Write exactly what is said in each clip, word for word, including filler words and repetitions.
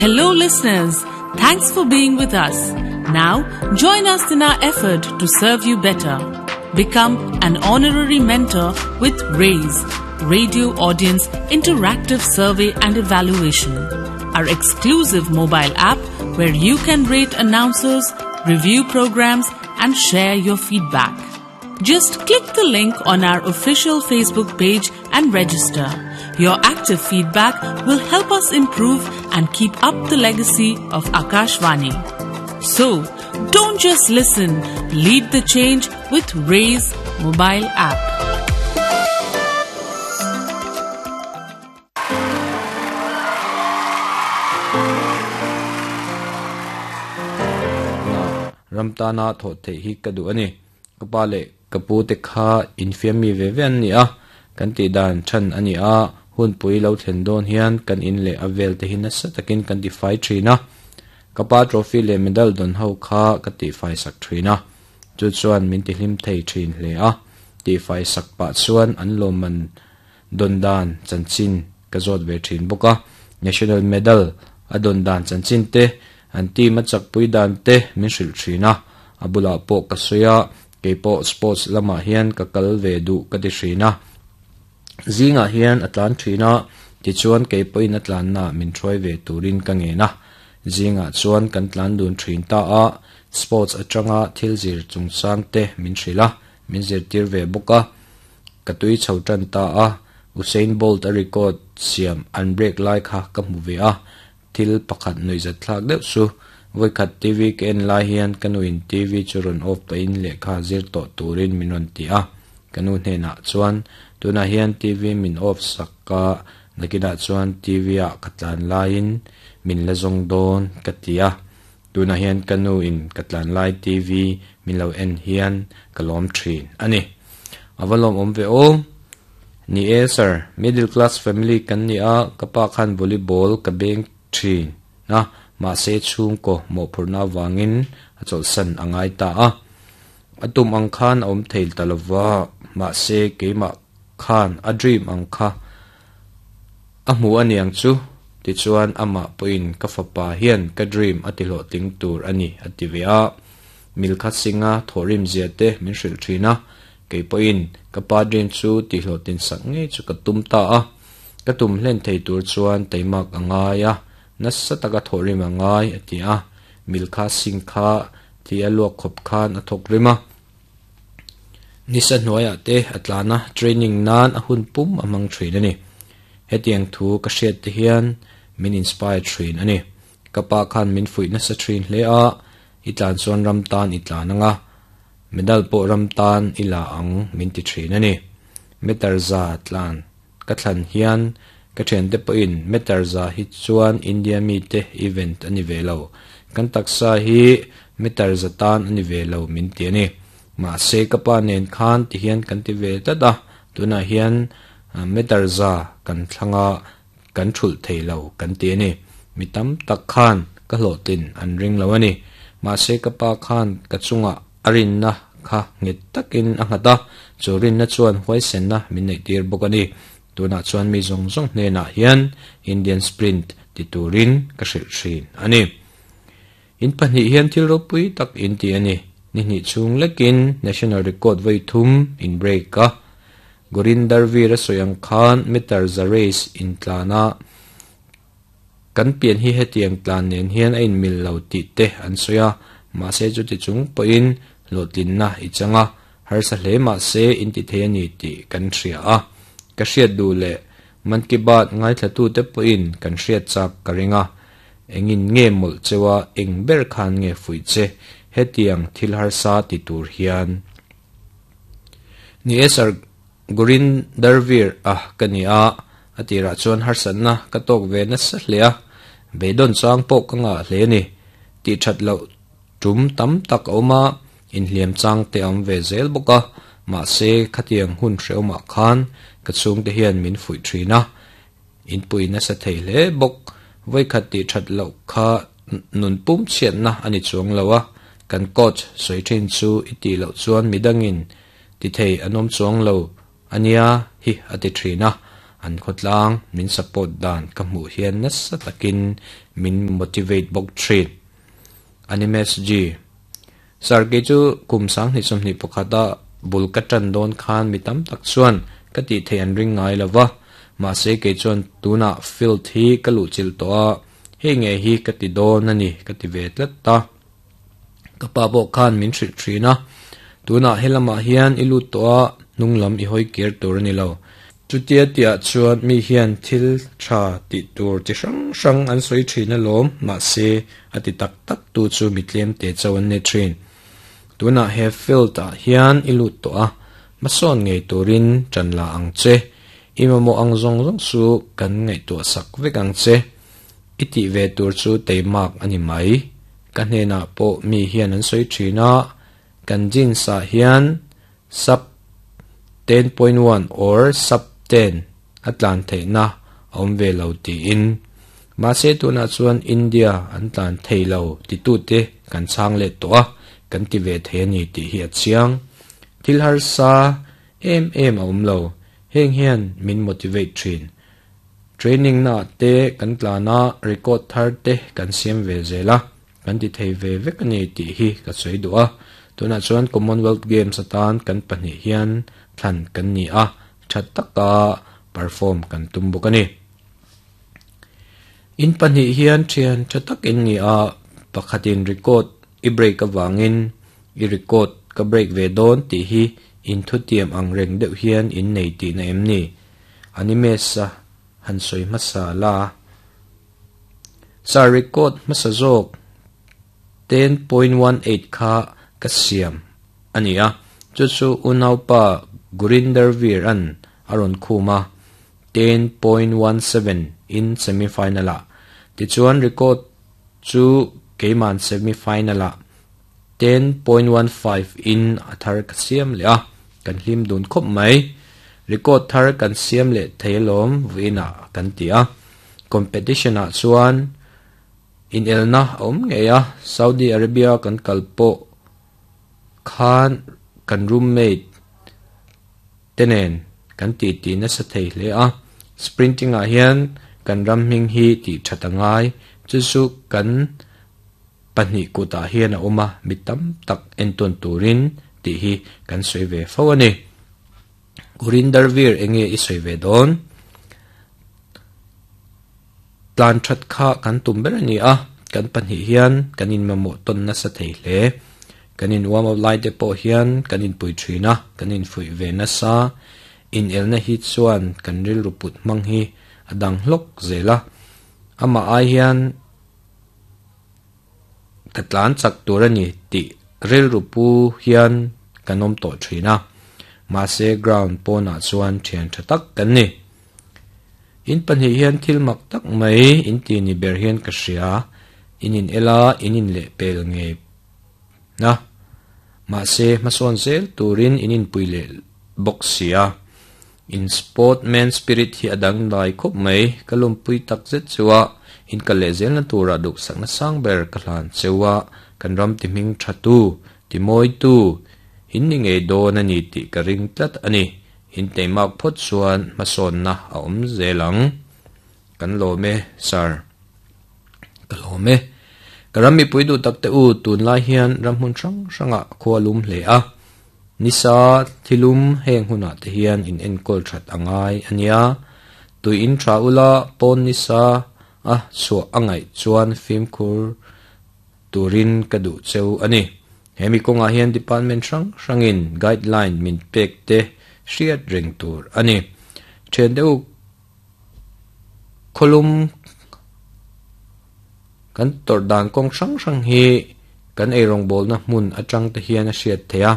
Hello, listeners. Thanks for being with us. Now, join us in our effort to serve you better. Become an honorary mentor with RAISE, Radio Audience Interactive Survey and Evaluation, our exclusive mobile app where you can rate announcers, review programs, and share your feedback. Just click the link on our official Facebook page and register. Your active feedback will help us improve and keep up the legacy of Akashvani. So, don't just listen, lead the change with Raise mobile app. Ramtana tho the hi ka du ani kapale kapu te kha infiam mi ve ve an ni a kan ti dan than ani a hun pui lo thlen dawn hian kan in leh a vel te hi nasa takin kan ti fai thin a kapa trophy leh medal dawn ho kha ka ti fai sak thin a chu chuan min ti hlim thei thin hle a ti fai sak pah chuan an lawmman dawn dan chanchin ka zawt ve thin bawk a national medal a dawn dan chanchin te an team a chak pui dan te min hrilh thin a a bulah pawh ka sawi a keipawh sports lamah hian ka kal ve duh ka ti thin a zingah hian a tlan thin a tichuan keipawhin a tlanna min hruai ve turin ka ngen a zingah chuan kan tlan dun thin ta a sports atanga thil zir chungchang te min hrilh a min zirtir ve bawk a ka tui chho tan ta a Usain Bolt a record siam an break lai kha ka hmu ve a thil pakhat nuihzat thlak deuh chu vawikhat T V ka en lai hian ka nuin T V chu rawn off pahin lehkha zir tawh turin min rawn ti a ka nu hnenah chuan tunah hian T V min off sak a nakinah chuan T V ah ka tlan laiin min la zawng dawn ka ti a tunah hian ka nu in ka tlan lai T V min lo en hian ka lawm thin ani awa lawm awm ve aw ni e sir middle class family kan ni a ka pa khan volleyball ka beng thin na ma se chung ko mo phurna wangin a chol san angai ta a atum ang khan awm theil talova ma se keima khan a dream ang kha a hmu aniang chu ti chuan ama poin ka fapa hian ka dream ati hlo tling tur ani ati ve a Milkha Singha thorim zia te min hril thina keipoin ka pa dream chu ti hlo tin sak nge chu ka tum ta a ka tum hlen thei tur chuan teimak angai a nasa taka thorim angai ati a Milkha Singh kha ti a luak khop khan a thok rima nisa hnuaiah te atlana training nan a hun pum amang thin ani hetiang thu ka hriat te hian min inspire thin ani kapa khan min fuih nasa thin hle a i tlan chuan ram tan i tlan anga medal pawh ram tan i la ang min ti thin ani meter za tlan ka thlan hian ka thian te pawhin meter za hi chuan India mi te event ani ve lo kan taksa hi meter za tan ani ve lo min ti ani ma se kapa nen khan ti hian kan ti ve tlat a tunah hian meter za kan thlanga kan thul theilo kan ti ani mi tam tak khan ka hlawhtlin an ring lo ani ma se kapa khan ka chunga a rinna kha nget takin a nghat a chu rinna chuan huaisenna min neih tir bawk ani tunah chuan mi zawng zawng hnenah hian Indian sprint ti turin ka hrilh thin ani in pahnih hian thil ropui tak in ti ani ni hnih chung lekin national record vai thum in break a Gurinder Veer a sawi ang khan meter za race in tlana kan pian hi hetiang tlan nen hian a in mil lo tih te an sawi a mahse chu ti chung pawhin hlawhtlinna i changa harsa hle mahse in ti thei ani tih kan hria a ka hriat duh leh Man Ki Baat ngaithla tu te pawhin kan hriat chak ka ringa engin nge mawlh chewa eng ber khan nge fuih che hetiang thil harsa ti tur hian ni e sir Gurinder Veer a ka ni a atirah chuan harsanna ka tawk ve nasa hle a beidawng chang pawh ka ngah hle ani ti that loh tum tam tak a awm a inhliam chang te awm ve zel bawk a mahse khatiang hun hreawmah khan ka chhung te hian min fuih thin a in pui nasa thei hle bawk vawikhat ti that loh kha nun pum chhiatna ani chuang lo a kan coach sawi thin chu i tih loh chuan midangin ti thei an awm chuang lo ania hi ati thin a An khawtlang min support dan ka hmuh hian nasa takin min motivate bawk thin. Animes G. Sir kei chu kum sanghnih sawmhnih pakhata bul ka tan dawn khan mi tam tak chuan ka tih theih an ring ngai lova. Mahse kei chuan tunah field hi ka luh chilh tawh a, hei nge hi ka ti dawn a ni ka ti ve tlat ta. Ka pa pawh khan min hrilh thin a, tunah helamah hian i lut tawh a, hnung lam i hawi kir tur a ni lo. Chutia tiah chuan mi hian thil tha tih tur chi hrang hrang an sawi thin alawm, mahse a ti tak tak tu chu mi tlem te cho an ni thin. Tunah he field ah hian i lut tawh a, hmasawn ngei turin tan la ang che. I mamawh ang zawng zawng chu kan ngaihtuah sak vek ang che. I tih ve tur chu teimak a ni mai. Ka hnenah pawh mi hian an sawi thin a, kan jeans ah hian sub ten point one or sub ten a tlan theihna a awm ve lo tiin. Mahse tunah chuan India an tlan thei lo titute kan chhang leh tawh a, kan ti ve thei a ni tih hi a chiang. Thil harsa em em a awm lo, heng hian min motivate thin. Training na te kan tlana record thar te kan siam ve zel a, kan ti thei ve vek a ni tih hi ka sawi duh a. Tunah chuan Commonwealth Games atan kan pahnih hian thlan kan ni a, tha taka perform kan tum bawk a ni. In pahnih hian thian tha tak in ni a, pakhatin record i break awangin i record ka break ve dawn tih hi in thu tiam ang reng deuh hian in nei tih na em ni. Animes a han sawi hmasa la. Sir record hmasa zawk ten point one eight kha ka siam a ni a, chu chu unaupa Gurinder Veer an a rawn khum a, ten point one seven in semifinal ah. Tichuan record chu keiman semifinal ah ten point one five in a thar ka siam leh a, kan hlim dun khawp mai. Record thar kan siam leh thei alawm vuinah kan ti a. Competition ah chuan in elna a awm ngei a, Saudi Arabia kan kal pawh khan kan roommate tenen kan ti ti nasa thei hle a. Sprinting ah hian kan ram hming hi ti tha ngai, chu chu kan pahnih kutah hian a awm a, mi tam tak enton turin tih hi kan sawi ve fo a ni. Gurinder Veer enge i sawi ve dawn. Tlan that kha kan tum ber a ni a, kan pahnih hian kan in mamawh tawn nasa thei hle. Kan in warm up lai te pawh hian kan in pui thin a, kan in fuih ve nasa. In elna hi chuan kan rilru put hmang hi a dang hlawk zel a. Amah ai hian ka tlan chak tur a ni tih rilru pu hian kan awm tawh thin a. Mahse ground pawnah chuan thian tha tak kan ni. In pahnih hian thil mak tak mai in ti ni ber hian ka hria. In in ela in in leh pel nge na. Mahse hmasawn zel turin in in pui leh bawk sia. In sportman spirit hi a dang lai khawp mai, ka lumpui tak zet chuwa in ka leh zel na tura duk sakna sang ber ka hlan chewa, kan ram ti hming tha tu ti mawi tu in ni ngei dawn a ni tih ka ring tlat a ni. In teimak phawt chuan hmasawn na a awm zel ang. Kan lawm e sir. Ka lawm e. Ka ram mi pui duh tak te u, tun lai hian ram hmun hrang hrangah khua lum hle a. Nisa thilum heng hunah te hian in enkawl that angai ania. Tui in tha ula pawn nisa a chhuah angai chuan fimkhur turin ka duh cheu ani. Hemi kawngah hian department hrang hrangin guideline min pek te hriat reng tur ani. Then deuh kholum kan tor dan kawng hrang hrang hi kan ei rawngbawl na hmun atang te hian a hriat thei a,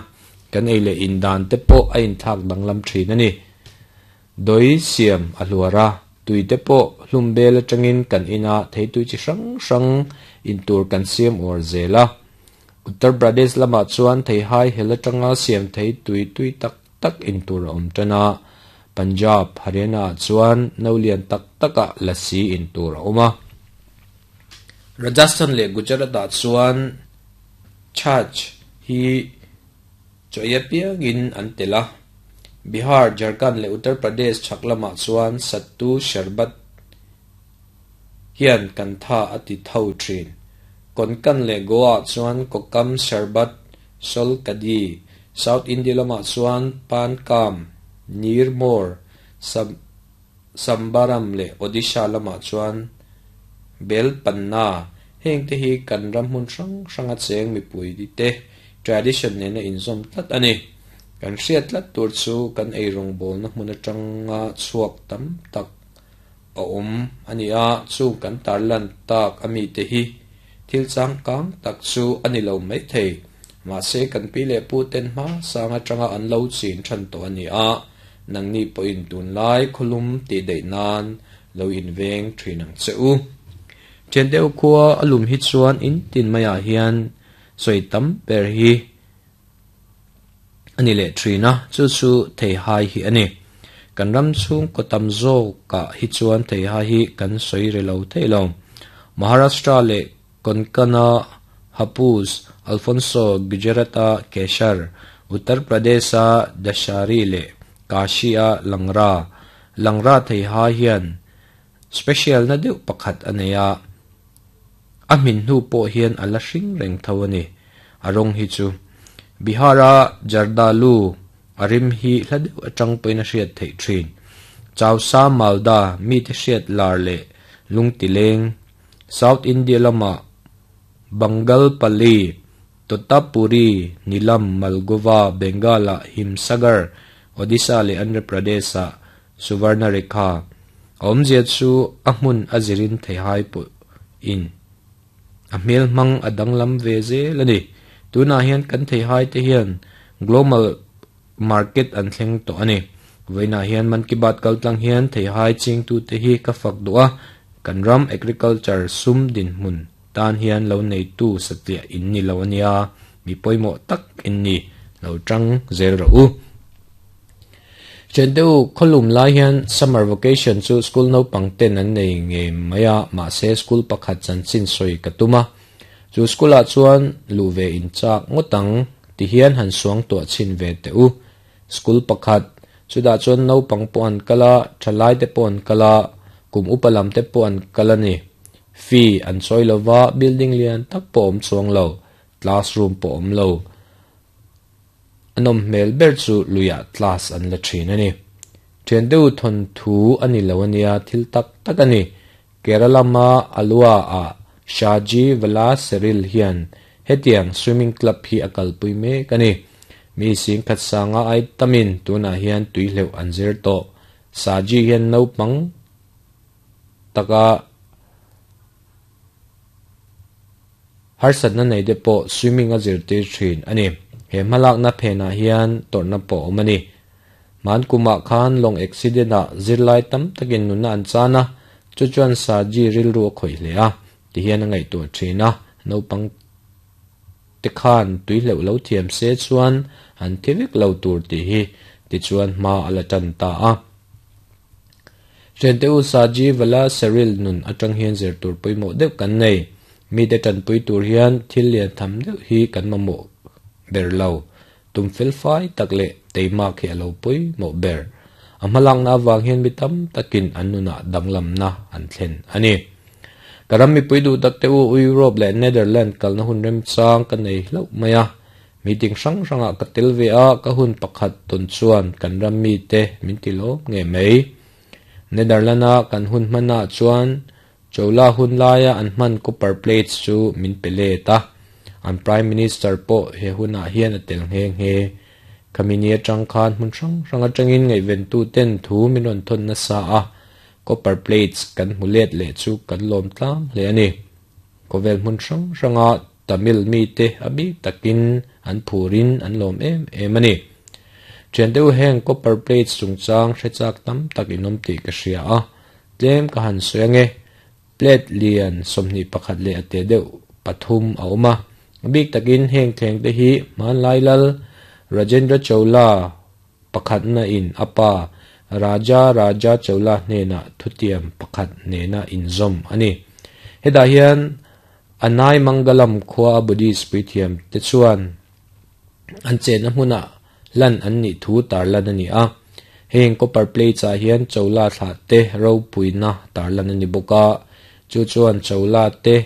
kan ei leh in dan te pawh a inthlak danglam thin ani. Doi siam a hluara tui te pawh hlum bel atangin kan ina thei tui chi hrang hrang in tur kan siam or zela. Uttar Pradesh lama chuan thei hai hel atanga siam thei tui tui tak tak in tur a awm tana. Punjab, Haryana chuan no lian tak taka lassi in tur a awm a. Rajasthan leh Gujarat ah chuan chhach hi chaw piangin an tel a. Bihar, Jharkhand leh Uttar Pradesh chhak lamah chuan sattu sharbat hian kan tha a ti tho thin. Konkan leh Goa chuan kokam sharbat solkadi, South India lamah chuan pankam, nirmor, sam sambaram leh Odisha lamah chuan bel panna. Heng te hi kan ram hmun hrang hranga cheng mipui te tradition nena inzawm tlat a ni. Kan hriat tlat tur chu kan eirawng bawlna hmun atanga chhuak tam tak a awm a ni a, chu kan tarlan tak ami te hi thil changkang tak chu a ni lo mai thei. Mahse kan pi leh pu ten hma sang atanga an lo chin than tawh a ni a, nangni pawhin tunlai khawlum tih daih nan lo inveng thin ang che u. Thian deuh khua a lum hi chuan in tin maiah hian sawi tam ber hi a ni leh thin a, chu chu theihai hi a ni. Kan ram chhung kaw tam zawkah hi chuan theihai hi kan sawi re lo thei lo. Maharashtra leh Konkana Hapus, Alfonso, Gujarata Keshar, Uttar Pradesha Dashari leh Kashia Langra. Langra theihai hian special na deuh pakhat a nei a, a hmin hnu pawh hian a la hring reng tho a ni. A rawng hi chu Bihara Jardalu a rim hi hla deuh atang pawhin a hriat theih thin. Chausa Malda mi te hriat lar leh lungtileng. South India lamah Bangalpali, Totapuri, Nilam, Malgova, Bengala, Himsagar, Odisha leh Andhra Pradesha Suvarnarekha. A awmzia chu a hmun a zirin theihai pawh in a hmel hmang a danglam ve zel a ni. Tunah hian kan theihai te hian global market an thleng tawh a ni. Vawiinah hian Man Ki Baat kaltlang hian theihai chingtu te hi ka fak duh a, kan ram agriculture sum dinhmun tan hian lo neitu satliah in ni lo ania, mi pawimawh tak in ni lo tang zel rawh u. Thian deuh khawlum lai hian summer vacation chu school naupang ten an nei nge mai a, mahse school pakhat chanchin sawi ka tum a. Chu school ah chuan luh ve in chak ngawt ang ti hian han suang tuah chhin ve teh u. School pakhat chutah chuan naupang pawh an kal a, thalai te pawh an kal a, kum upa lam te pawh an kal a ni. Fee an chawi lova, building lian tak pawh awm chuang lo, classroom pawh awm lo. A nawm hmel ber chu luiah class an la thin a ni. Thian deuh thawn thu a ni lo ania, thil tak tak a ni. Kerala ma Alua ah Shaji Vala Seril hian hetiang swimming club hi a kalpui mek a ni. Mi sing khat sanga ai tamin tunah hian tui hleuh an zir tawh. Saji hian naupang taka harsatna nei te pawh swimming a zirtir thin a ni. He hmalakna phenah hian tawrhna pawh awm a ni. Man kumah khan lawng accident ah zirlai tam takin nunna an chan a, chu chuan Saji rilru a khawih hle a, ti hian a ngaihtuah thin a, naupang te khan tui hleuh lo thiam se chuan an thi vek lo tur tih hi ti chuan hma a la tan ta a. Thian te u Saji Vala Seril nun atang hian zir tur pawimawh deuh kan nei. Mi te tanpui tur hian thil lian tham deuh hi kan mamawh ber lo. Tum fel fai tak leh teimak hi a lo pawimawh ber. A hmalakna avang hian mi tam takin an nunah danglamna an thlen a ni. Ka ram mipui duh tak te u Europe leh Netherlands kalna hun remchang ka nei hlauh mai a. Meeting hrang hrangah ka tel ve a, ka hun pakhat tawn chuan kan ram mi te min ti lawm nge mai. Netherlands a kan hun hmanah chuan Chola hun laia an hman copper plates chu min pe let a. An Prime Minister pawh he hunah hian a tel nghe nghe. Khamini atang khan hmun hrang hrang atangin ngaihventu ten thu min rawn thawn nasa a. Copper plates kan hmu let leh chu kan lawm tlang hle a ni. Khawvel hmun hrang hranga Tamil mi te a bik takin an phurin an lawm em em a ni. Thian deuh heng copper plates chungchang hrechak tam tak in awm tih ka hria a. Tlem ka han sawi ange. Plate lian sawmhnih pakhat leh a te deuh pathum a awm a. A bik takin heng thleng te hi Hmanlai Lal Rajendra Chola pakhatna in a pa Raja Raja Chola hnenah thutiam pakhat nena inzawm a ni. Hetah hian Anai Mangalam khua Buddhist puithiam te chuan an chenna hmunah Lan an ni thu tarlan ani a. Heng copper plates ah hian Chola thlah te ropuina tarlan ani bawk a. Chu chuan Chola te